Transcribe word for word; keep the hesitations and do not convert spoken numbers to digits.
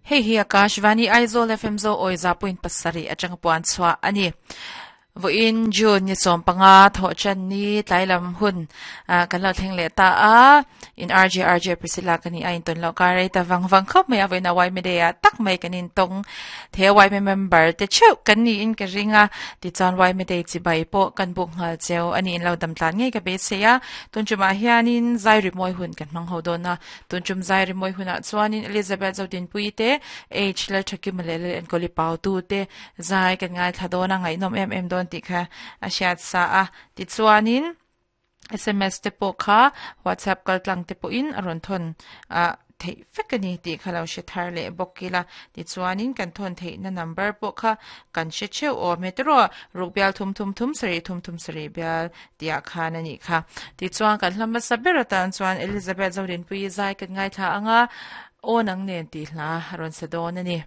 Hei hi Akashvani Aizawl F M zo oi za point pasarih atanga puan chhuah a ni. Vawiin June ni sawm panga thawh chan ni tlailam hun kan lo thleng leh ta a. In R J R J Priscilla ka ni a intawn loh kar rei ta vang vang khawp mai a. Vawiin a Y M A ah tak mai kan intawng the a Y M A member te theuh kan niin ka ring a. Tichuan Y M A chibai pawh kan buk nghal cheu a ni in lo dam tlan ngei ka beisei a. Tun tumah hianin zai rimawi hun kan hmang ho dawn a. Tun tum zai rimawi hunah chuanin Elizabeth Zodinpui te H Lalthakima leh Lal Enkawli Pau tu te zai kan ngaithla dawn a ngaihnawm em em dawn tih kha a hriat sa a. Tichuanin S M S te pawh kha WhatsApp kaltlang te pawhin a rawn thawn a theih vek a ni tih kha lo hre thar leh bawk ila. Tichuanin kan thawn theihna number pawh kha kan hre theuh awm he tiraw ruk bial thum thum thum sarih thum thum sarih bial tihah khan a nih kha. Tichuan kan hla hmasa ber atan chuan Elizabeth Zodinpui zai kan ngaithla anga aw nang nen tih hla a rawn sa dawn a ni.